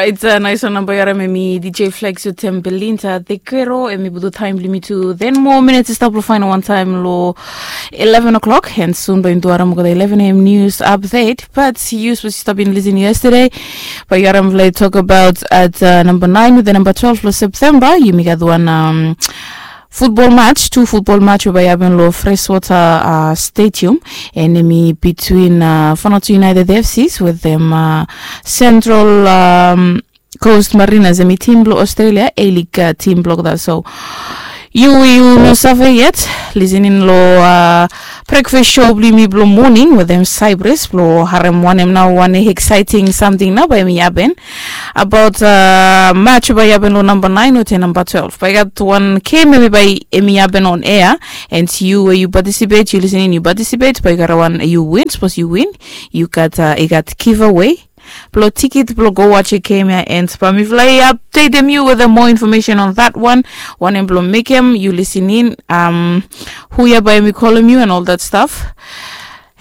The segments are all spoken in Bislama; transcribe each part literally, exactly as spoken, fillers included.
It's a nice one namba yu harim em i D J Flex wetem Belinda the Kero, em i putum taem blong yumi tu ten more minutes i stap long faenol wantaem long eleven o'clock, and soon bae yumi tu harim olgeta eleven a.m. news update. But yu sapos yu stap bin lisin yesterday, bae yu harim mifala i tokbaot at uh, namba naen wetem namba twelve long Septemba yumi gat wan um, futbol match, tu futbol match we bae i hapen long Freshwater uh, Stadium, and em i between uh, Vanuatu United F Cs wetem uh, Central um, Coast Mariners, em i tim blong Australia A-League uh, tim blong olgeta. So yu we yu no save yet, lisin in long uh, breakfast show blong yumi blong moning wetem Cyprus blong harim wanem nao wan exciting samting nao bae em i hapen abaot uh, match bae i hapen long namba naen wetem namba twelve. Bae i gat wan game em i bae em i hapen on air, and yu we yu participate, yu lisin in, yu participate, bae i gat wan yu win. Sapos yu win, yu gat uh, i gat giveaway blong tiket blong go watch a game ya, and bae mifala i updatem yu wetem more information on that one. Wanem blong mekem yu lisin in, um, hu ya bae em i kolem yu and all that stuff.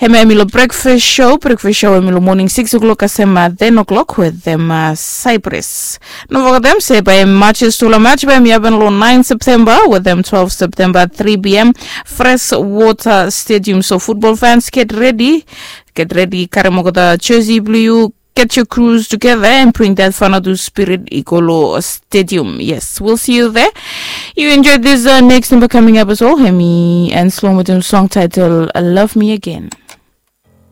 Hemia em i long breakfast show. Breakfast show em i long moning six o'clock kasem uh, ten o'clock wetem uh, Cyprus. No fogetem se bae matches, tufala match bae em i hapen long naen Septemba wetem twelve Septemba, three p.m., Freshwater Stadium. So futbol fans, get ready. Get ready, karim olgeta jersey blong yu, get your crews together and bring that Vanuatu spirit i go long stadium. Yes, we'll see you there. You enjoy this uh, next number coming up as well. Hemi and Slow Motion song title Love Me Again.